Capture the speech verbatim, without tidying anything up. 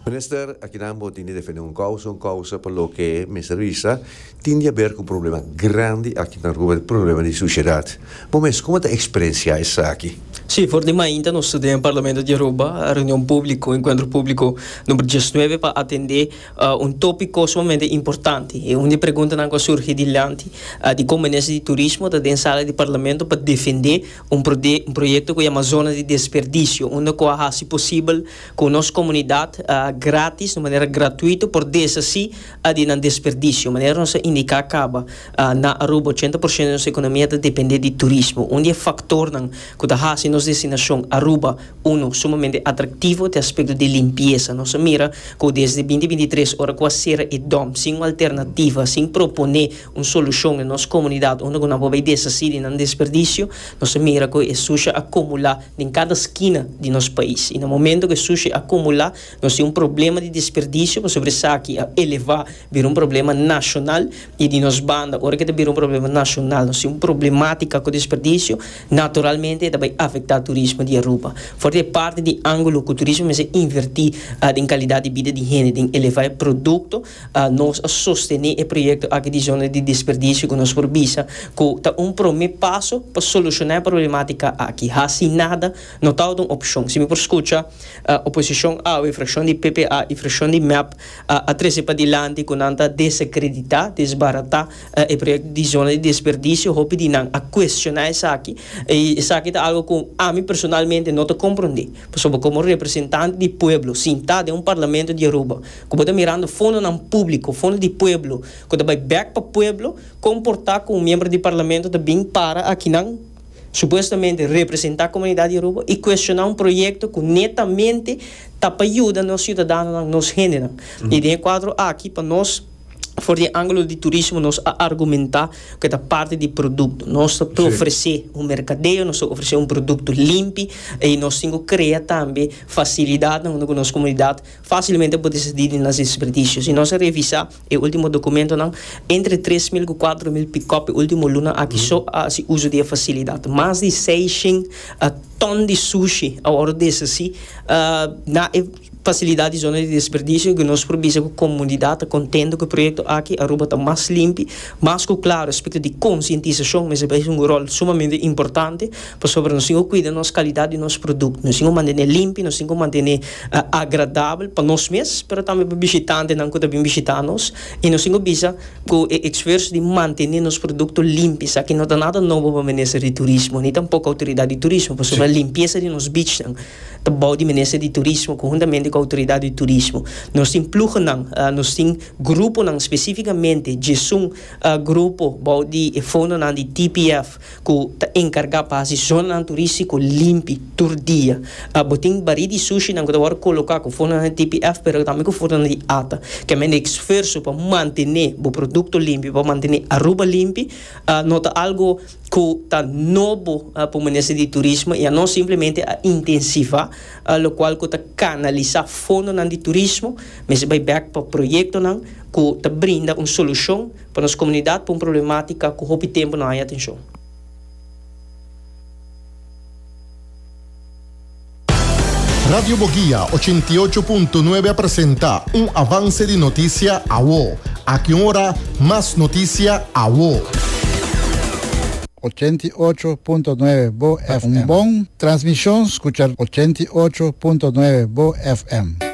Minister, aki nan bo tin di defende un causa, un causa pa loke mester bisa, tin di haber cu un problema grandi aki na Aruba, problema di sushedad. Bo mes, con ta experiencia esaki? Si, for di mainta nos ta den Parlamento di Aruba, reunion publico, encuentro publico number diesnuebe pa atende uh, un topico sumamente importante. Y un di preguntanan cu a surgi dilanti uh, di con Minister di Turismo ta den sala di Parlamento pa defende un, un proyecto cu yama Zona di Desperdicio, unda cu a haci posibel cu nos comunidad uh, gratis, di manera gratuito, por deshaci uh, di nan desperdicio. Manera nos a indica caba uh, na Aruba, ochenta porciento di nos economia ta depende di turismo. Un di e factornan cu ta haci nos destinacion Aruba uno sumamente atractivo ta aspecto di limpieza. Nos a mira cu desde dos mil bintitres, ora cu a cera e dump, sin un alternativa, sin propone un solucion den nos comunidad, unda nan por deshaci di nan desperdicio, nos a mira cu e sushi a acumula den cada skina di nos pais. Y na momento cu e sushi acumula, nos tin un problema di desperdicio, pasobra esaki a eleva, bira un problema nacional y di nos banda, ora cu bira un problema nacional, nos tin un problematica cu desperdicio, naturalmente tambe ta afecta turismo di Aruba. For di parti di angulo cu turismo mester inverti uh, den calidad di bida di hende, den eleva e producto, uh, nos a sostene e proyecto aki di zona di desperdicio cu nos por bisa, cu ta un prome paso pa soluciona e problematica aki. Haci nada no ta un opcion. Si mi por scucha, uh, oposicion A, e fraccion di P P A y fraccion di M E P uh, a trece padilanti cu nan ta desacredita, desbarata uh, e proyecto di zona di desperdicio, hopi di nan a cuestiona esaki. Y esaki ta algo cu ami personalmente no ta comprende. Pasobra como representante di pueblo, sinta den un parlamento di Aruba, cu ta mirando fondonan publico, fondo di pueblo, cu ta bay back pa pueblo, comporta como miembro di parlamento ta bin para akinan supuestamente representa e comunidad di Aruba y cuestiona un proyecto cu netamente ta pa yuda nos ciudadanonan, nos hendenan. Mm. Y den e cuadro aki, pa nos, for di angulo di turismo, nos a argumenta cu ta parti di producto. Nos ta ofrece un mercadeo, nos ta ofrece un producto limpi y nos tin cu crea tambe facilidad unda nos comunidad facilmente por deshasi di nan desperdicio. Si nos revisa e ultimo documentonan, entre tres mil y cuater mil pick-up ultimo luna aki so a haci uso di e facilidad. Mas di seisshen uh, ton di sushi a wordo deshaci uh, na facilidad di zona di desperdicio cu nos por bisa cu e comunidad ta contento cu e proyecto aki. Aruba ta mas limpi, mas cu claro, aspecto di concientisacion, mas e un rol sumamente importante, pasobra nos tin cu cuida nos calidad di nos producto, nos tin cu mantene limpi, nos tin cu mantene uh, agradabel pa nos mes, pero tambe pa bishitantenan cu ta bin bishita nos, y nos tin cu bisa cu e esfuerso di mantene nos producto limpi, esaki no ta nada nobo pa Minister di Turismo, ni tampoco autoridad di turismo, pasobra e limpieza di nos beach ta bou di Minister di Turismo, conhuntamente cu e autoridad di turismo. Nos tin ploegennan, uh, nos tin gruponan specificamente, un uh, grupo bou di fondonan di T P F cu ta encarga pa e zona turistico limpi tur dia. Uh, bo tin bari di sushi nan cu ta coloca cu fondonan di T P F, pero tambe cu fondonan di ATA, cu e esfuerso pa mantene e producto limpi, pa mantene Aruba limpi, uh, no ta algo cu ta nobo uh, pa Minister di Turismo y nos simplemente a intensiva uh, locual cu ta canalisa fondonan di turismo, mas bay back pa proyectonan cu ta brinda un solucion pa nos comunidad, pa un problematica cu hopi tempo no tin atencion. Radio Boguia ochenta y ocho punto nuebe a presenta un avance di noticia awo. Aki un ora, mas noticia awo. ochenta y ocho punto nuebe Bo F M. Un bon transmision, scucha ochenta y ocho punto nuebe Bo F M.